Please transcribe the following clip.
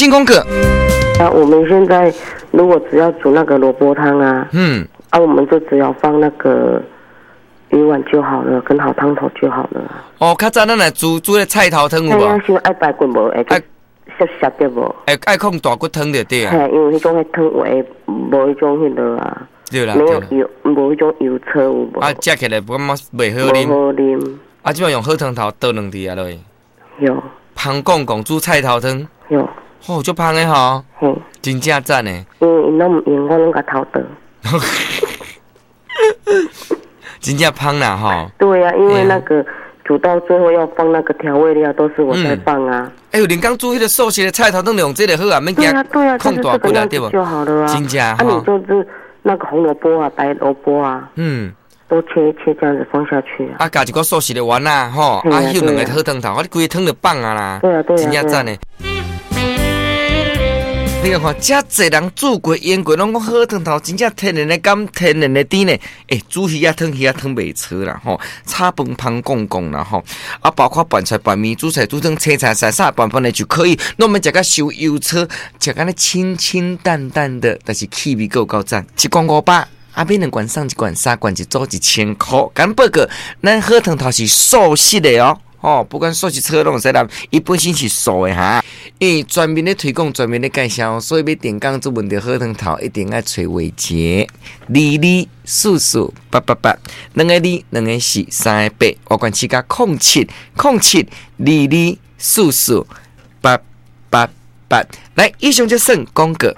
進廣告。啊，我們現在如果只要煮那個蘿蔔湯啊，啊，我們就只要放那個魚丸就好了，跟好湯頭就好了。哦，較早咱來煮煮个菜頭湯有無？啊，像愛排骨無會澀澀對無？會愛控大骨湯就對啊。嘿，因為彼種彼湯會無彼種彼落啊。對啦，沒有油，無彼種油醋有無？啊，食起來感覺袂好啉。無好啉。啊，這擺用好湯頭倒兩滴啊落去。有。芳講講煮菜頭湯。有。哦，足芳的吼。嘿。真正讚的。因為𪜶攏毋用，我攏共偷倒。真正芳啦吼。對啊，因為那個煮到最後要放那個調味料，都是我在放啊。哎呦，連剛煮彼個素食的菜頭湯，用這個好啊，免驚控大骨啊，對無？就好了啊。真正啊，你就是那個紅蘿蔔啊，白蘿蔔啊，都切一切這樣子放下去啊。啊，加一個素食的丸啊，吼，啊，翕兩個好湯頭，啊，你規個湯就放啊啦。對啊，對啊。真正讚的。你看看，遮濟人煮過、用過，攏講好湯頭，真正天然的甘，天然的甜呢。欸，煮魚仔湯，魚仔湯袂錯啦，吼，炒飯芳講講啦，吼，啊，包括拌菜、拌麵、煮菜、煮湯、青菜、菜啥拌拌的就可以。攏免食甲傷油醋，食甲呢清清淡淡的，但是氣味閣有夠讚。一罐500，啊，買兩罐送一罐，三罐一組1000箍。共報告，咱好湯頭是素食的哦。哦，不管素食車攏會使來，伊本身是素的哈。因為全面咧推廣，全面咧介紹，所以欲訂購做問著好湯頭，一定愛揣偉傑，二二四四八八八，兩個二，兩個四，三個八，我管七加0707 2244 888。來，以上就算廣告。